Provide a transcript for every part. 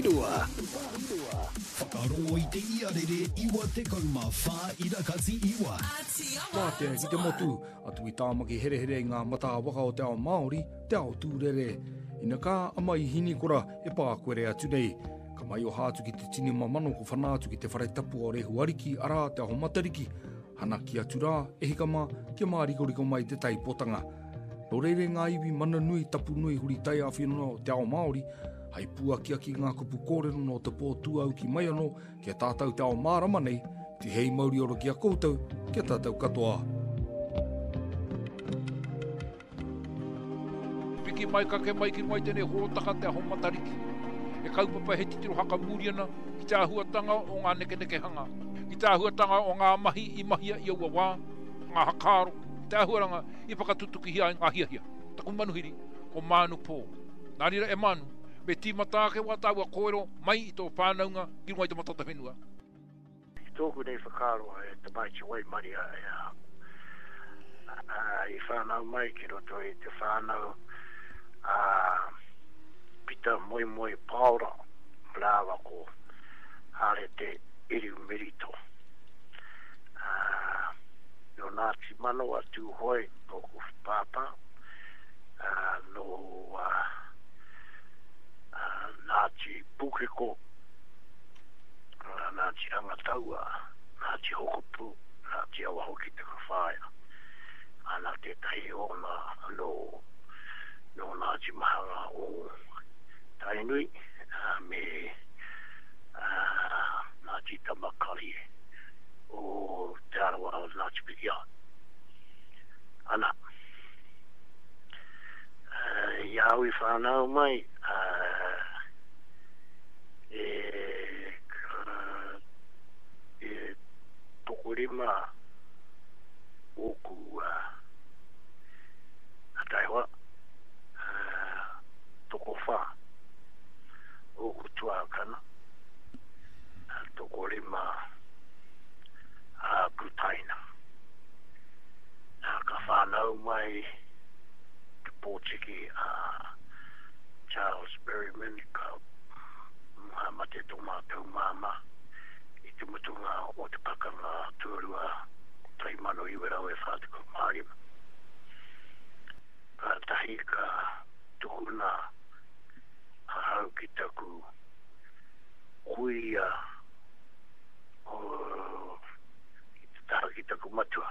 Pahiroa. Whakarongo i te iarere 94 ira kati iwa. Wātea ki te motu, atu i Tāmaki herehere i ngā matā waka o te ao Māori, te ao tūrere. Ina kā a Maihinikora e pākuere atu nei. Ka maioha atu ki te tini mamano ko whana atu ki te whare tapu o Rehu Ariki, arā Te Aho Matariki. Hanaki atu rā, e hika mā, kia mārikoriko mai te taipotanga. Nō reira ngā iwi mana nui, tapu nui, huri taiāwhio o te ao Māori, hai pūakiaki ngā kupu kōrero nō te pō tūauki mai anō ki a tātou te ao mārama nei, tihei mauri ora ki a koutou, ki a tātou katoa. Piki mai, kake mai ki runga i tēnei hōtaka Te Aho Matariki. He kaupapa he titiro hakamuri ana ki te āhuatanga o ngā nekenekehanga, ki te āhuatanga o ngā mahi i mahia i aua wā, ngā hakaaro, te āhuaranga i whakatutukihia ai ngā hiahia. Taku manuhiri, ko Mānu Pō. Nā reira e Mānu, me tīmata ake wā tāua kōrero mai i tō whānaunga ki runga i te matata whenua. Ki tōku nei whakaaro he tamaiti waimaria i whānau mai ki roto i te whānau a Pita Moemoe Paora rāua ko Harete Iriumerito. Nō Ngāti Manawa Tūhoe tōku pāpā, nō Ngāti Pūkeko Ngāti Rangataua, Ngāti Hokopū, Ngāti Awa hoki taku whaea. Ana tētahi ōna nō, nō Ngāti Mahanga o Tainui me Ngāti Tamakarie o Te Arawa o Ngāti Pikiao. Ana, i a au i whānau mai, E e tokorima ōku taihoa, tokowhā ōku tuākana, tokorima āku taina. Ka whānau mai te pōtiki a Charles Berryman, ka mate tō mātou māmā i te mutunga o te Pakanga Tuarua 1945. Kātahi ka tukuna ahau ki taku kuia ki te taha ki taku matua.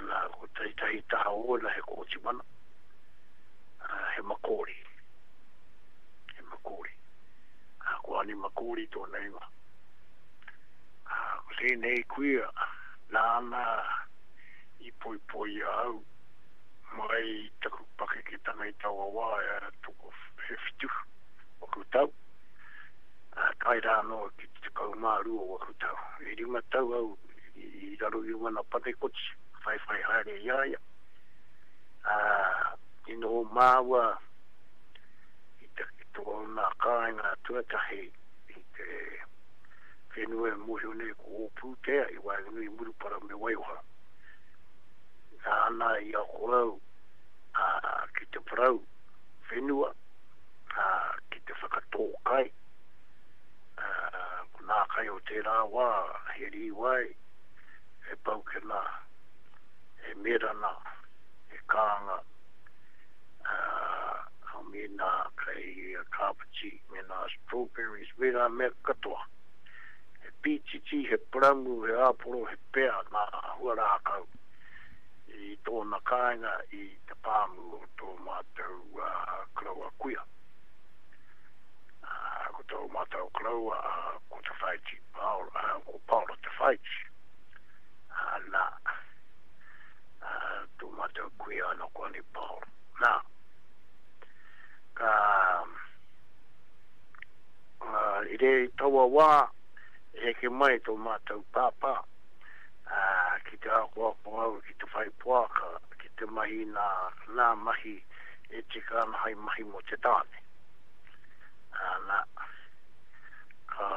Nā, ko tētahi taha ōna he kōtimana. he Makori. He Makori. Ko Ani Makori tōna ingoa. Ko tēnei kuia, nāna i poipoi a au mai i taku pakeketanga i taua wā, e he whitu waku tau, tae rā anō ki te 12 waku tau. E rima tau au i raro i wana panekoti, whaiwhai haere i a ia. Ā, i noho māua i te, i tōna kāinga tuatahi i te whenua e mōhio nei ko Ōpūtea i waenganui i Murupara me Waioha. Nāna i ako au ā, ki te parau whenua, ā, ki te whakatō kai. Ā, ko nā kai o tērā wā, he rīwai, he paukena, he merana, he kānga, ā, mēnā kei kāpeti, mēnā strawberries, me ngā mea katoa. He pītiti, he paramu, he āporo, he pea ngā huarākau i tōna kāinga i te pāmu o tō mātou koroua kuia. Ko tō mātou koroua ko Te Whaiti Paora, ko Paora Te Whaiti. Nā, tō mātou kuia ana ko Ani Paora. Nā, ka, i re i taua wā, e heke mai tō mātou pāpā, ki te akoako au ki te whai poaka, ki te mahi nā, nā mahi e tika ana hai mahi mō te tāne. Nā, ka,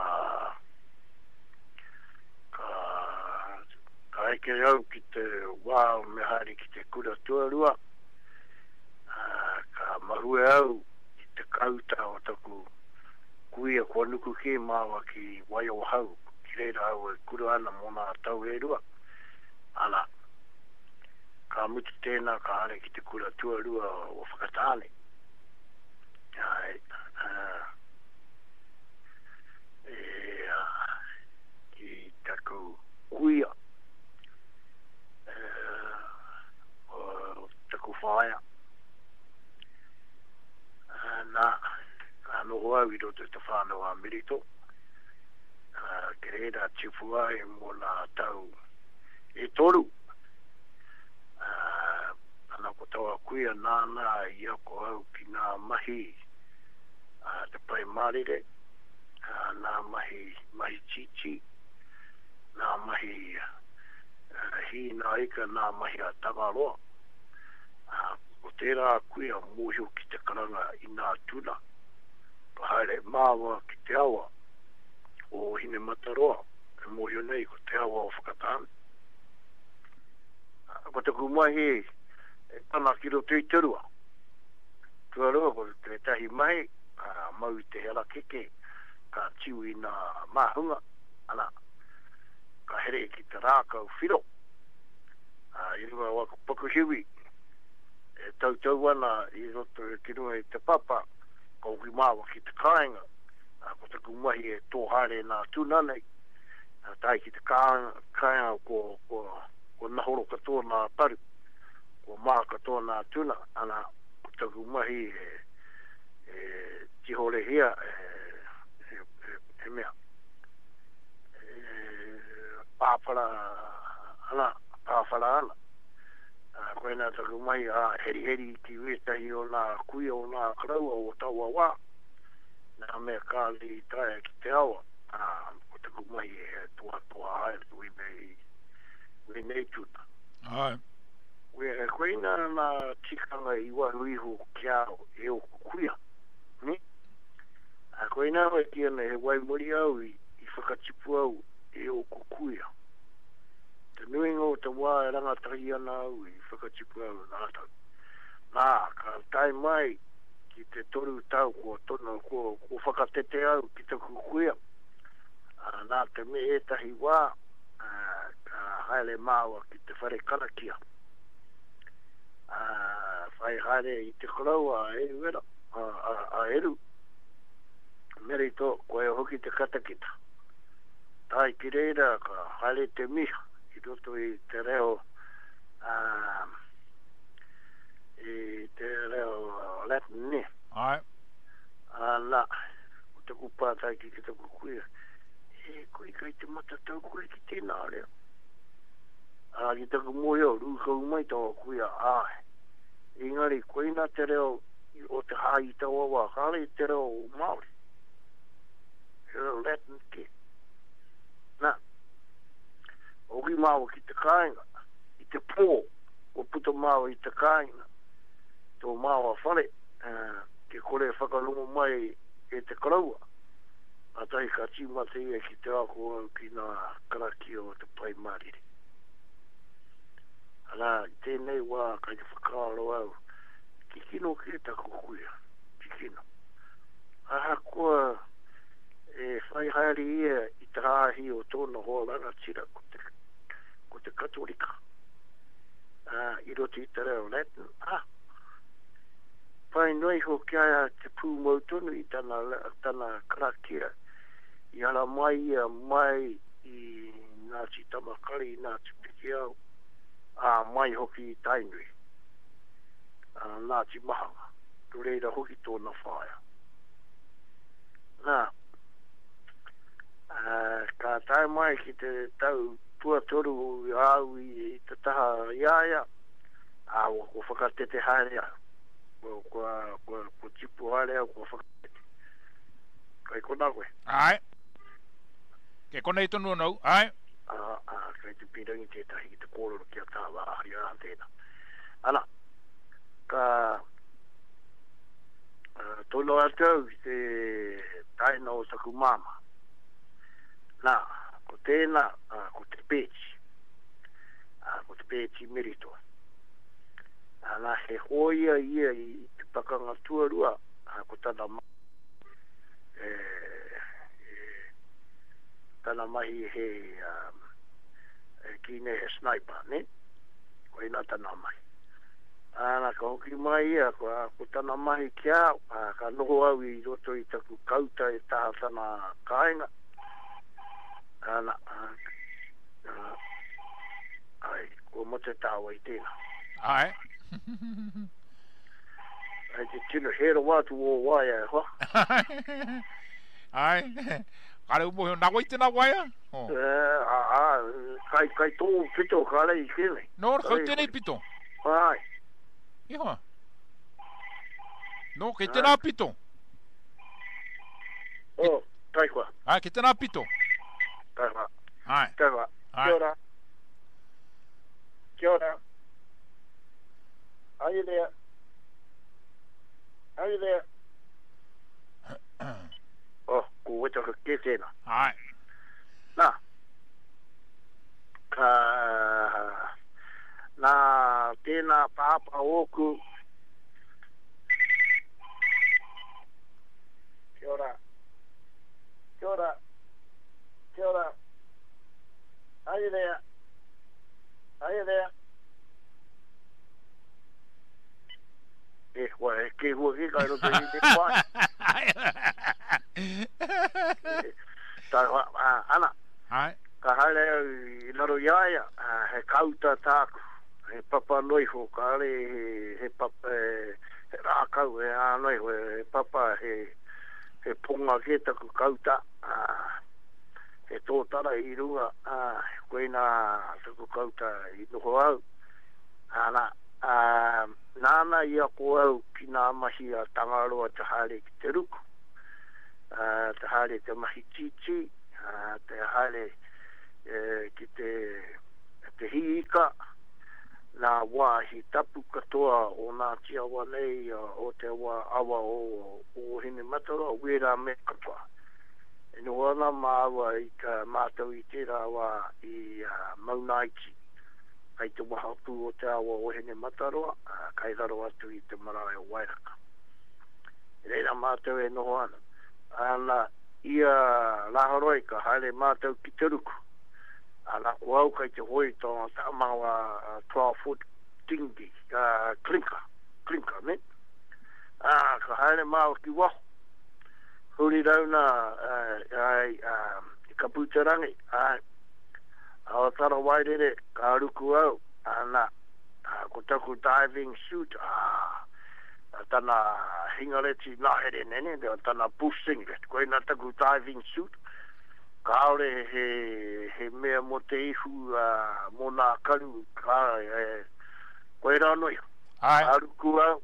Ka, ka eke au ki te wā me haere ki te kura tuarua, ā, ka mahue au i te. Kāuta o taku kuia kua nuku kē māua ki Waiohau, ki reira au e kura ana mō nā tau e rua. Ana, ka mutu tēnā ka haere ki te kura tuarua o Whakatāne. Āe, e, ki taku kuia, e, o taku whaea. Nā, ka noho au i roto i te whānau a Merito, ki reira tipu ai mō nā tau e toru. Ana ko taua kuia nāna i ako au ki nā mahi a te Pai Mārire, nā mahi mahi tītī, nā mahi hī nā ika, nā mahi a Tangaroa. Ko tērā kuia mōhio ki te karanga i nā tuna, ka haere māua ki te awa o Hinemataroa, e mōhio nei ko te awa o Whakatāne. Ko taku mahi e tana ki roto i te rua. Tuarua ko tētahi mahi, ka mau i te harakeke, ka tiu i nā māhunga, ana, ka here ki te rākau whiro, i runga o aku pakuhiwi, e tautau ana i roto ki runga i te papa, ka hoki māua ki te kāinga, ā, ko taku mahi e tō haere nā tuna nei, ā, tae ki te kāinga kua, kua, kua nahoro katoa nā paru, kua mā katoa nā tuna, ana, ko taku mahi e, e tihorehia e, e, e, e mea, e pāwhara ana, pāwhara ana. Ā, koinā taku mahi, ā, heriheri ki wētahi o nā kuia o nā koroua o taua wā, nā mea kāore i taea ki te awa, ā, ko taku mahi he tohatoha haere wēnei, wēnei tuna. Āe. Koinā nā tikanga i waru iho ki a au e ōku kuia, nē? Ā, koinā au e kī ana he waimarie au i whakatipu au e ōku kuia. Te nuinga o te wā e rangatahi ana au i whakatipu au rātou. Nā, ka tae mai ki te toru tau kua tono, kua, kua whakatete au ki taku kuia, ā, nā te me ētahi wā, ā, ka haere māua ki te whare karakia. Ā, whai haere i te koroua a Eruera, a, a, a Eru, Merito, koia hoki te katakita. Tae ki reira ka haere te miha i roto i te reo, ā, i te reo Latin, nē. Āe. Ā, nā, ko taku pātai ki taku kuia, E koe, kei te matatau koe ki tēnā reo? Ā, ki taku mōhio, rūkau mai taua kuia, āe. Engari, koina te reo o te hāhi i taua wā, kāore i te reo Māori. He reo Latin kē. Nā, hoki māua ki te kāinga, i te pō, kua puta māua i te kāinga, tō māua whare, kia kore e whakarongo mai e te koroua. Kātahi ka tīmata ia ki te ako au ki ngā karakia o te Pai Mārire. Arā, i tēnei wā kei te whakaaro au, kikino kē taku kuia, kikino. Ahakoa e whai haere ia i te hāhi o tōna hoa rangatira, ko te, ko te Katorika, ā, i roto i te reo Latin, ā, pai noa iho ki a ia te pūmau tonu i tana, tana karakia, i ara mai ia mai i Ngāti Tamakari, i Ngāti Pikiao, ā, mai hoki i Tainui, ā, Ngāti Mahanga, nō reira hoki tōna whaea. Nā, ā, ka tae mai ki te tau tuatoru a au i te taha i a ia, ā, kua whakatete haere au. Kua, kua, kua, kua tipu haere au, kua whakatete. Kai konā koe? Āe. Kei konei tonu ana au, āe. Ā, ā, kei te pīrangi tētahi ki te kōrero ki a tāua, ā, i aha tēnā. Ana, ka, Tono atu au ki te taina o taku māmā. Nā, ko tēnā, ko Te Pēti. Ko Te Pēti Merito. Nā, he hōia ia i te pakanga tuarua, ko tana e, e, tana mahi he, e kī nei he sniper, ne? Koina tana mahi. Ana, ka hoki mai ia, ko, ko tana mahi ki a au, ka noho au i roto i taku kauta e taha tana kāinga. Ana, a, ai, kua mate tāua i tēnā. Ai. Ai te tino hē rawa atu ō waea e hoa. Ai. Kāre u mōhio, nā wai tēnā waea? Oh. Eh, a, a, kai, kai tō pito kāre i tēnei. Nō, kau tēnei pito? Ai. I hoa. Nō, kei tēnā pito? Oh, kai koa. Ai, kei tēnā pito? Kai koa. Ai. Kai koa. Kia ora. Kia ora. Are you there? Are you there? Oh, ko Wetaka kē tēnā. Āe. Nā, ka, nā tēnā pāpā ōku. Kia ora. Kia ora. Kia ora. Are you there? Are you there? E, kua e kēhua kē kai roto i te wā. Tā, ana, Ai. ka haere au i raro i a ia, he kauta tāku, he papa noa iho, kāre he, he papa, he, he rākau, he ā noa iho, he papa, he, he ponga kē taku kauta, he tōtara i runga, koinā taku kauta i noho au. Ana, ā, nāna i ako au ki nā mahi a Tangaroa te haere ki te ruku, ā, te haere te mahi tītī, ā, te haere ki te, te hī ika, nā wāhi tapu katoa o Ngāti Awa nei, o te awa, awa o Ōhinemataroa, wērā mea katoa. E noho ana māua i, mātou i tērā wā i Maunaiti. Kai te wahapū o te awa o Hinemataroa, ā, kai raro atu i te marae o Wairaka. I reira mātou e noho ana. Ana, ia Rāhoroi ka haere mātou ki te ruku. Ana, ko au kai te hoe i tōna tāmanga 12 foot dinghy, ā, clinker, clinker, ne? Ā, ka haere māua ki waho. Huri rauna, ā, ai, ā, i Kaputerangi, āe. Awatara Wairere, ka ruku au, ana, ko taku diving suit, ā, tana hingareti ngahere nene, tana bush singlet, koina taku diving suit, kāore he, he mea mō te ihu, ā, mō nā karu, kā, e, koirā noa iho. Āe. Ka ruku au,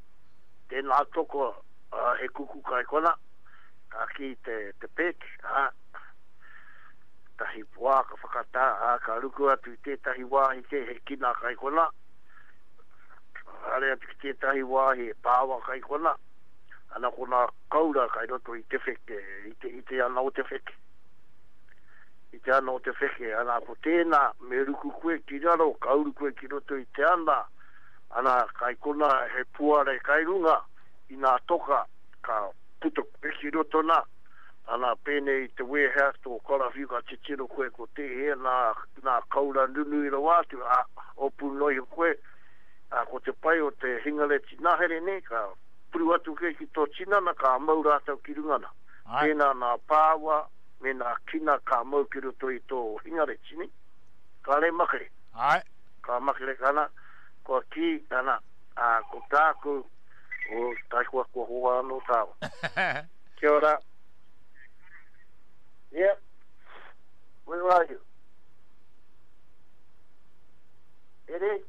tēnā toko, ā, he kuku kai kona, ka kī te, te pēke, ā, Tahi wā ka whakatā, ā, ka ruku atu i tētahi wāhi kē he kina kai konā, ka haere atu ki tētahi wāhi he pāwa kai konā, ana ko nā koura kai roto i te wheke, i te, i te ana o te wheke. I te ana o te wheke, ana ko tēnā, me ruku koe ki raro, ka uru koe ki roto i te ana, ana kai konā he puare kai runga i nā toka, ka puta koe ki roto nā. Ana, pēnei i te wēhea tō karawhiu ka titiro koe ko tēhea nā, nā kaura nunui rawa atu, ā, opu noa iho koe, ā, ko te pai o te hingareti ngahere nei, ka puru atu koe ki tō tinana, ka mau rātou ki runga nā. Āe. Pēnā nā pāua me nā kina ka mau ki roto i tō hingareti nei. Kāre makere. Āe. Ka makere, ana, kua kī, ana, ā, ko tāku, o, taikoa kua hoa anō tāua. Kia ora. Yep. Where are you? Eddie?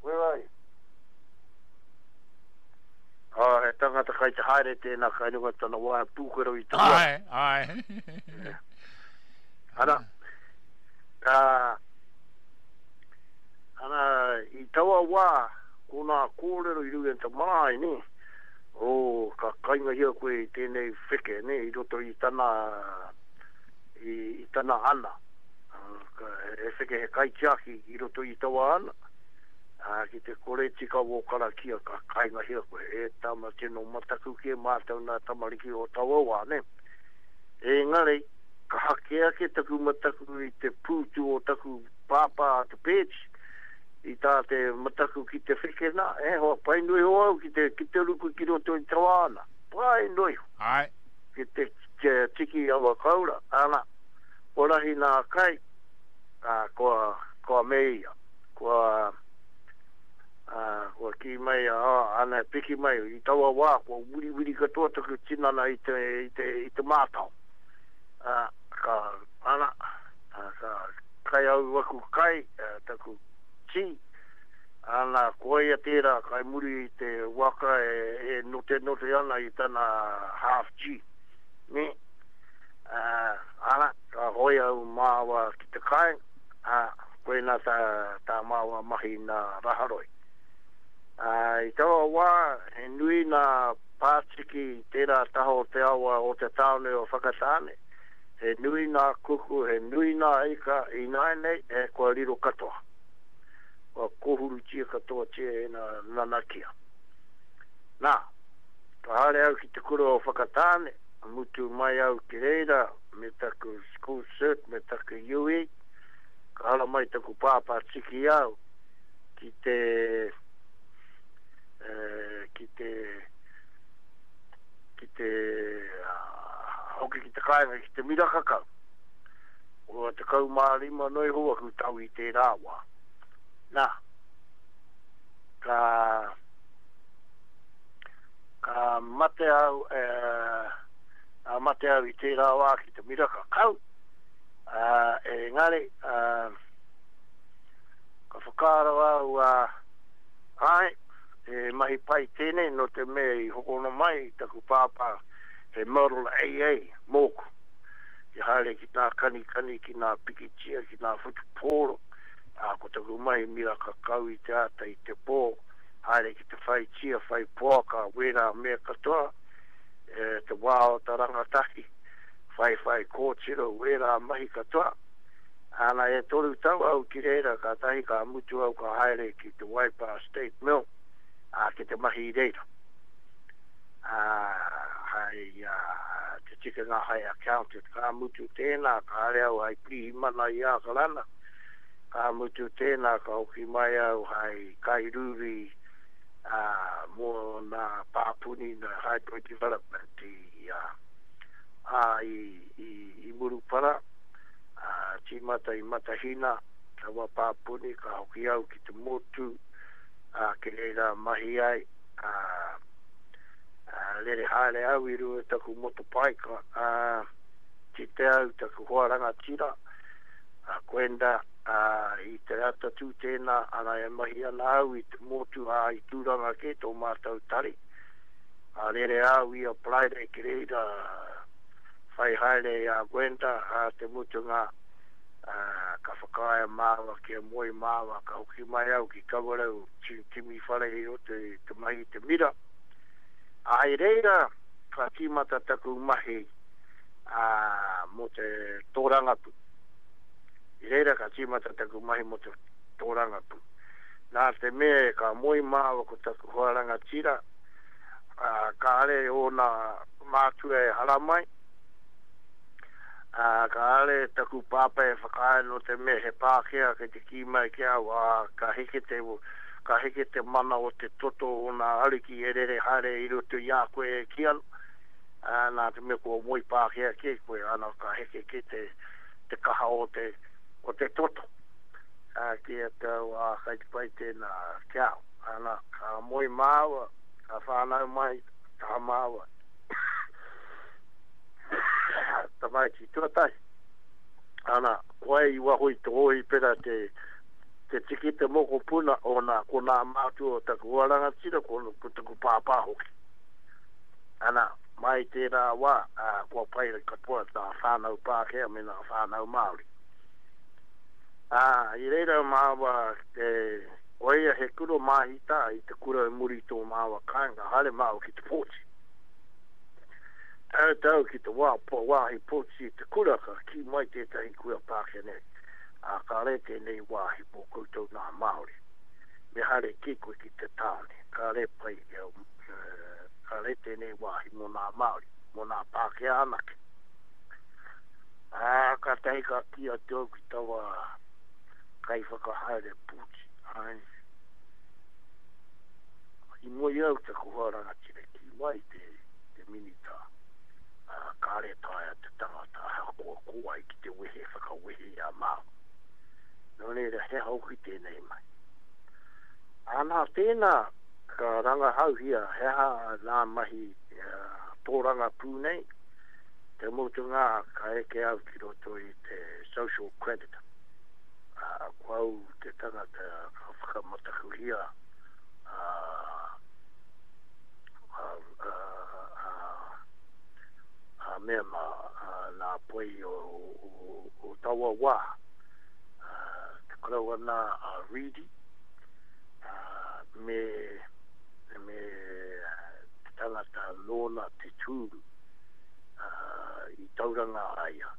Where are you? Oh, he tangata kai te haere tēnā kai runga tana waea pūkero i te Ai, ai. Ana, ka, ana, i taua wā, ko nā kōrero i runga i te marae, nē, oh, ka kaingahia koe i tēnei wheke, nē, i roto i tana, i, i tana ana. Ka, he wheke, he kaitiaki i roto i taua ana. Ā, ki te kore tika wō karakia ka kaingahia koe, e tama tino mataku kē mātou nā tamariki o taua wā, nē. Engari, kaha kē ake taku mataku i te pūtu o taku pāpā a Te Pēti, i tā te mataku ki te wheke nā, e hoa, pai noa iho au ki te, ki te ruku ki roto i te wāna, pai noa iho. Āe. Ki te, te tiki awa kaura, ana, kua rahi nā kai, ā, kua, kua me ia. Kua, ā, kua kī mai, ā, ana e piki mai, i taua wā, kua wiriwiri katoa taku tinana i te, i te, i te mātao. Ā, ka, ana, ā, ka kai au aku kai, ā, taku tī, ana, ko ia tērā kai muri i te waka e, e notenote ana i tana half G. Nē? Ā, ana, ka hoe au māua ki te kāinga, ā, Koinā tā, tā māua mahi nā Raharoi. Ā, i taua wā, he nui nā pātiki i tērā taha o te awa o te tāone o Whakatāne, he nui nā kuku, he nui nā ika, ināianei, he kua riro katoa. Kua kōhurutia katoatia e nā nanakia. Nā, ka haere au ki te kura o Whakatāne, mutu mai au ki reira me taku school cert, me taku UE, Ka haramai taku pāpā tiki au ki te, ki te, ki te, hoki ki te kāinga ki te miraka kau. Kua 15 noa iho aku tau i tērā wā. Nā, ka, ka mate au, e, ka mate au i tērā wā ki te miraka kau, Ā, engari, ā, ka whakaaro au, ā, āe, he mahi pai tēnei nō te mea i hokona mai i taku pāpā he Model AA mōku, ki haere ki nā kanikani, ki nā pikitia, ki nā whutupōro, ā, ko taku mahi miraka kau i te ata, i te pō, haere ki te whai tia, whai poaka, wērā mea katoa, e, te wā o ta rangatahi. Whaiwhai kōtiro wērā mahi katoa. Ana e toru tau au ki reira kātahi ka mutu au ka haere ki te Waipā State Mill ā ki te mahi i reira. Ā hai ā te tikanga hai accountant ka mutu tēnā ka haere au hai pirihimana i Ākarana ka mutu tēnā ka hoki mai au hai kairūri ā mō nā pāpuni nā hydro development i ā ā, i, i, i Murupara, ā, tīmata i Matahina, taua pāpuni, ka hoki au ki te motu, ā, ki reira mahi ai, ā, ā, rere haere au i runga i taku motopaika, ā, kite au taku hoa rangatira, a Gwenda, ā, i te atatū tēnā, ana e mahi ana au i te motu, ā, i Tūranga kē tō mātou tari. Ka rere au i a Friday ki reira whai haere i a Gwenda, ā, te mutunga, ā, ka whakaae māua kia moe māua, ka hoki mai au ki Kawerau kimi whare i roto i te mahi i te mira. Ā, i reira ka tīmata taku mahi, ā, mō te tōrangapū. I reira ka tīmata taku mahi mō te tōrangapū. Nā te mea ka moe māua ko taku hoa rangatira, ā, kāre ōna mātua e haramai, ā, kāre taku pāpā e whakaae nō te mea he Pākehā kei te kī mai ki a au, ā, ka heke te, ka heke te mana o te toto o nā ariki e rere haere i roto i a koe e kī ana, ā, nā te mea kua moe Pākehā kē koe, ana ka heke kē te, te kaha o te, o te toto. Ā, kī atu au, ā, kei te pai tēnā ki a au. Ana, ka moe māua, ka whānau mai tā māua tamaiti tuatahi. Ana, koe i waho i te hōhipera te, te tiki te mokopuna o nā, ko nā mātua o taku hoa rangatira, ko, ko taku pāpā hoki. Ana, mai tērā wā, ā, kua pai katoa nā whānau Pākehā me nā whānau Māori. Ā, i reira māua te, Koia he kura māhita i te kura i muri i tō māua kāinga, haere māua ki te pōti. Tautau ki te wā, wāhi pōti i te kura ka kī mai tētahi kuia Pākehā nei, ā, kāre tēnei wāhi mō koutou nā Māori. Me haere kē koe ki te tāone, kāre pai, kāre tēnei wāhi mō nā Māori, mō nā Pākehā anake. Ā, kātahi ka kī atu au ki taua kaiwhakahaere pūti, āe, i moe au taku hoa rangatira, kī mai te, te minita, ā, kāre taea te tangata ahakoa ko wai ki te wehe whakawehe i a māua. Nō reira, he aha hoki tēnei mahi? Ā, nā tēnā ka rangahauhia he aha nā mahi tōrangapū nei, te mutunga ka eke au ki roto i te social credit. Ā, ko au te tangata ka whakamatakuhia ā, ā, ā, ā, ā mea mā, nā poi o, o, o taua wā. Te koroua nā a Reedy, me, me te tangata nōna te tūru i Tauranga a ia.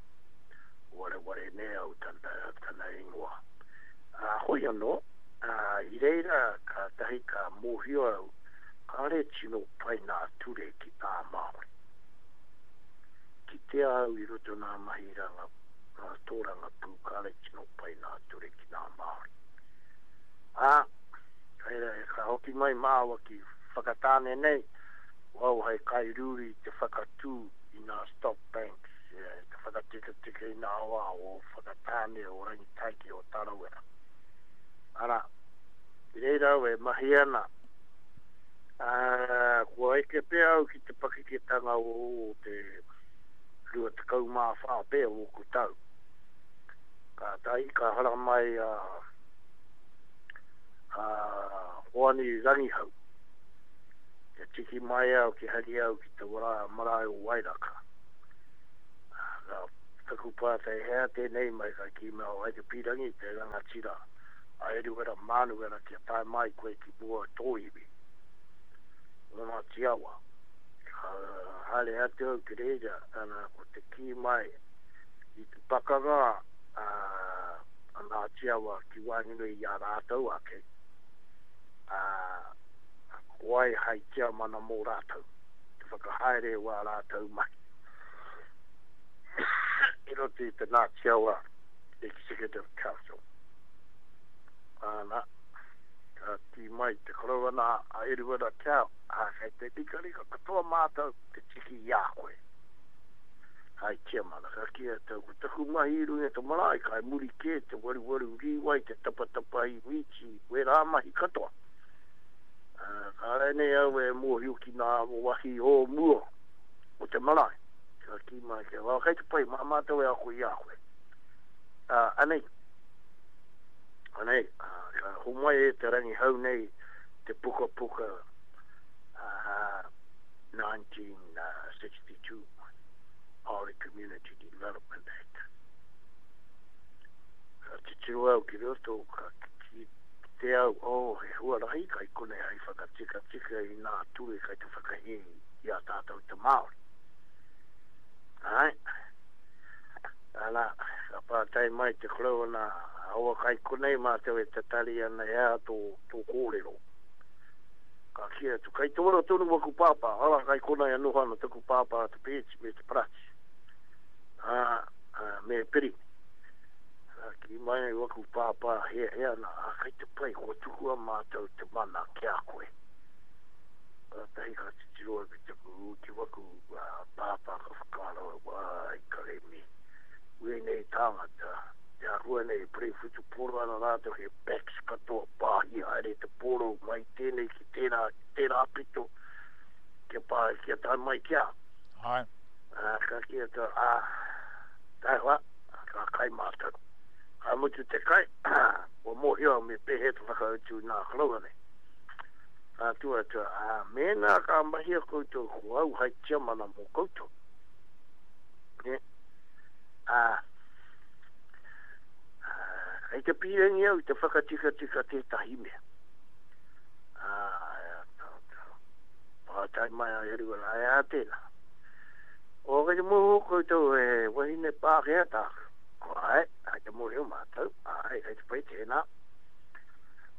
Wareware nei au tana, tana ingoa. Hoi anō, i reira kātahi ka mōhio au kāre tino pai nā ture ki tā Māori. Kitea au i roto nā mahi ranga ngā tōrangapū kāre tino pai nā ture ki nā Māori. Ā, reira ka hoki mai māua ki Whakatāne nei, ko au hai kairūri te whakatū i nā stock banks, te whakatikatika i nā wā o Whakatāne, o Rangitaiki, o Tarawera. Arā, i reira au e mahi ana, ā, kua eke pea au ki te pakeketanga o te 24 pea ōku tau. Kātahi ka haramai a, a Hoani Rangihau. Kia tiki mai au, ki hari au ki te wara, marae o Wairaka. Ka taku pātai, he aha tēnei mai? Ka kī mai, oh, hai te pīrangi te rangatira a Eruera Mānuera kia tae mai koe ki mua tō iwi, o Ngāti Awa. Ka haere atu au ki reira, ana, ko te kī mai i te pakanga a, a Ngāti Awa ki waenganui i a rātou ake, ā, ko wai hai tiamana mō rātou, te whakahaere o ā rātou mahi i roto i te Ngāti Awa Executive Council. Ana, ka kī mai te koroua nā a Eruera Kao, Ā, kei te rikarika katoa mātou te tiki i a koe. Hai tiamana, ka kī atu au, ko taku mahi i runga i te marae, kai muri kē te waruwaru rīwai, te tapatapahi mīti, wērā mahi katoa. Ā, kāre nei au e mōhio ki ngā wāhi o mua o te marae. Ka kī mai ki au, kei te pai, mā mātou e ako i a koe. Ā, anei, anei, ā, ka homai e te rangihau nei te pukapuka 1962 Māori Community Development Act. Ka titiro au ki roto, ka kite au, oh, he huarahi kai konei hai whakatikatika i nā ture kai te whakahē i a tātou te Māori. Āe. Ana, ka pātai mai te koroua nā, aua kai konei mātou e tatari ana he aha tō, tō kōrero. Ka kī atu, Kei te ora tonu waku pāpā, arā, kai konei e noho ana taku pāpā a Te Peeti me Te Parati, ā, ā, me Pirimi. Ka kī mai waku pāpā heahea ana, ā, kei te pai, kua tukua mātou te mana ki a koe. Kātahi ka titiro au ki taku, ki waku pāpā ka whakaaro au, Wai, karemi, wēnei tāngata, te āhua nei e purei whutupōro ana rātou he backs katoa pāhi haere te pōro mai tēnei ki tērā, ki tērā pito kia pā, kia tae mai ki a. Āe. Ā, ka kī atu, ā, taihoa, ka kai mātou. Ka mutu te kai, kua mōhio au me pēhea te whakautu nā koroua nei. Ka tū atu, ā, mēnā ka mahia koutou ko au hai tiamana mō koutou. Nē? Ā, Kei te pīrangi au te whakatikatika tētahi mea. Ā, pātai mai a Eruera, he aha tēnā? O, kei te mōhio koutou he wahine Pākehā tāku. Ko āe, kei te mōhio mātou, āe, kei te pai tēnā.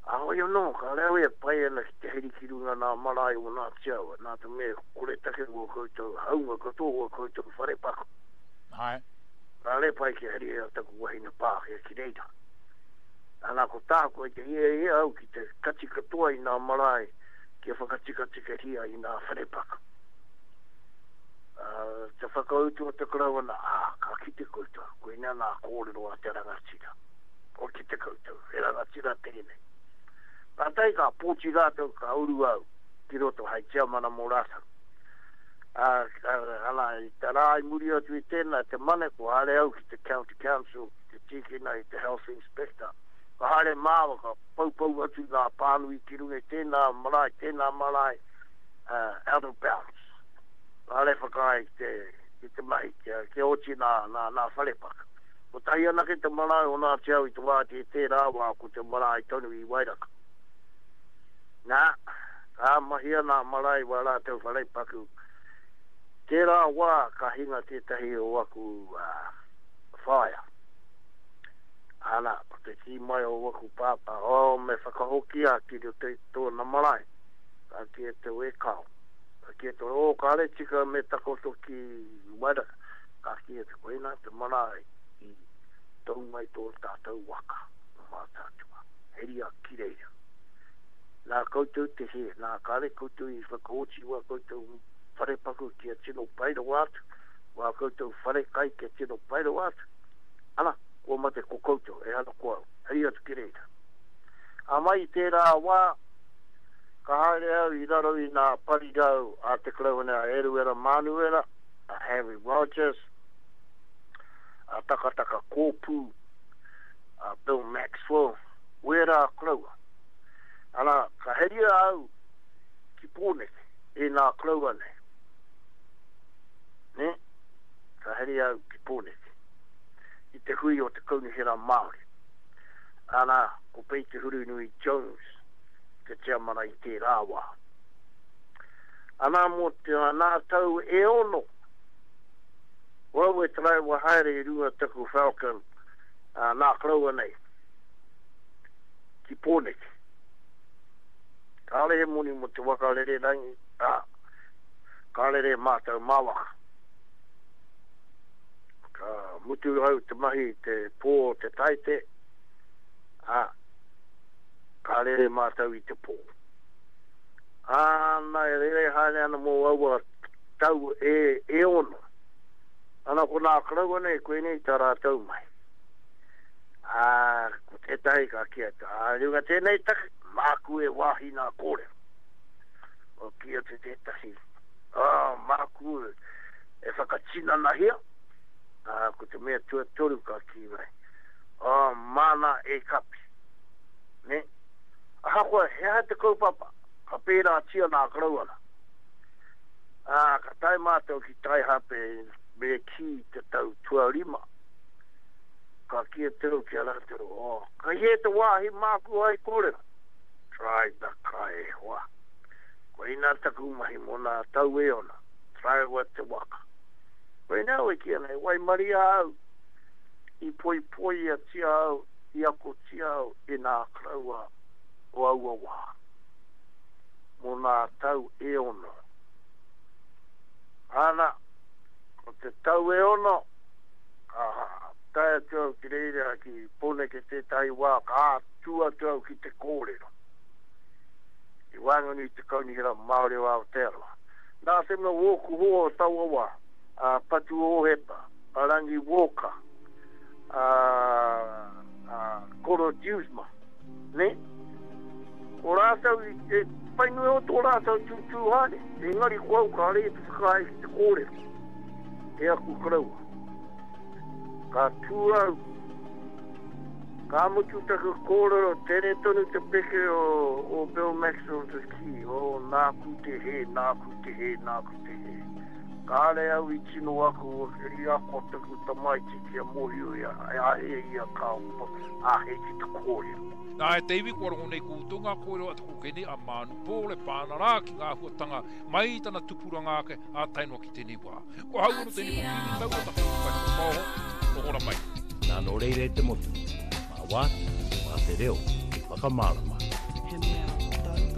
Heoi anō, kāre au e pai ana ki te heri ki runga nā marae o Ngāti Awa, nā te mea koretake wō koutou haunga katoa wō koutou wharepaku. Āe. Kāre pai kia heria taku wahine Pākehā ki reira. Ana, ko tāku kei te hiahia au ki te kati katoa i nā marae kia whakatikatikahia i nā wharepaku. Ā, te whakautu a te Karauna, ā, ka kite koutou, koinā nā kōrero a te rangatira. Kua kite koutou, he rangatira tēnei. Kātahi ka pōti rātou ka uru au ki roto hei tiamana mō rātou. Ā, ana, i te rā i muri atu i tēnā, te Mane, kua haere au ki te County Council, ki te tīkina i te Health Inspector. Ka haere māua, ka poupou atu ngā pānui ki runga i tēnā marae, tēnā marae, out of bounds. Kāre whakaae ki te, ki te mahi, kia, kia oti nā, nā, nā wharepaka. Kotahi anake te marae o Ngāti Awa i te wā i tērā wā ko te marae tonu i Wairaka. Nā, ka mahia nā marae wā rātou wharepaku. Tērā wā ka hinga tētahi o aku whaea. Ana, ko te kī mai o waku pāpā, oh, me whakahokia ki roto i tōna marae. Ka kī atu, e kāo. Ka kī atu, oh, kāre tika me takoto ki Wairaka. Ka kī atu, koinā te marae i tau mai tō tātou waka o Mātaatua. Heria ki reira. Nā koutou te hē, nā kāre koutou i whakaoti wā koutou wharepaku kia tino pai rawa atu, wā koutou wharekai kia tino pai rawa atu, ana, kua mate ko koutou, ehara ko au. Heria atu ki reira. Ā, mai i tērā wā, ka haere au i raro i nā parirau a Te Karauna a Eruera Mānuera, a Harry Rogers, a Takataka Kōpū, a Bill Maxwell, wērā koroua. Ana, ka heria au ki Pōneke e nā koroua nei. Nē? Ka heria au ki Pōneke, i te hui o te Kaunihera Māori. Ana, ko Pei Te Hurunui Jones te tiamana i tērā wā. Ana mō te nā tau e ono, ko au e taraiwa haere i runga taku Falcon nā koroua nei, ki Pōneke. Kāore he moni mō te waka rererangi, ā, ka rere mātou mā waka. Ka mutu au te mahi i te pō o te Taite, ā, ka rere mātou i te pō. Āna e rere haere ana mō aua tau e, e ono. Ana ko nā koroua nei, koinei tā rātou mahi. Ā, ko tētahi ka kī atu, ā, i runga tēnei take, māku e wāhi nā kōrero. Kua kī atu tētahi, ā, māku e whakatinanahia, ā, ko te mea tuatoru ka kī mai, ā, māna e kapi. Nē? Ahakoa he aha te kaupapa, ka pērātia nā Karauana. Ā, ka tae mātou ki Taihape me kī te tau tuarima, ka kī atu au ki a rātou, Oh, kei hē te wāhi māku hai kōrero? Try the kai e hoa. Koinā taku mahi mō nā tau e ona, taraiwa te waka. Koinā au e kī ana, e waimaria au, i poipoiatia au, i akotia au e nā koroua o aua wā, mō nā tau e ono. Ana, ko te tau e ono, ka tae atu au ki reira ki Pōneke tētahi wā, ka tū atu au ki te kōrero i waenganui i te Kaunihera Māori o Aotearoa. Nā te mea wōku hoa o taua wā, a Patu Ōhepa, a Rangi Walker, a, a Koro Dewsma, nē? Ko rātou i te pai nui o tō rātou tūtū haere, engari ko au kāre i te whakaae ki te kōrero e aku koroua. Ka tū au, ka mutu taku kōrero, tere tonu te peke o, o Bill Maxwell te kī, oh, nāku te hē, nāku te hē, nāku te hē. Kāre au i tino ako, i ako taku tamaiti kia mōhio ia, āhea ia ka āhei ki te kōrero. Nā, e te iwi, kua rongo nei koutou ngā kōrero a te kōkēnei a Mānu Paul e pā ana rā ki ngā āhuatanga mai i tana tupuranga ake ā tae noa ki tēnei wā. Ko ahau anō tēnei ko Kīngi Taua taku whakapaoho, noho ra mai. Nā, nō reira e te motu, mā Wāti, mā te reo, hei whakamārama. He mea.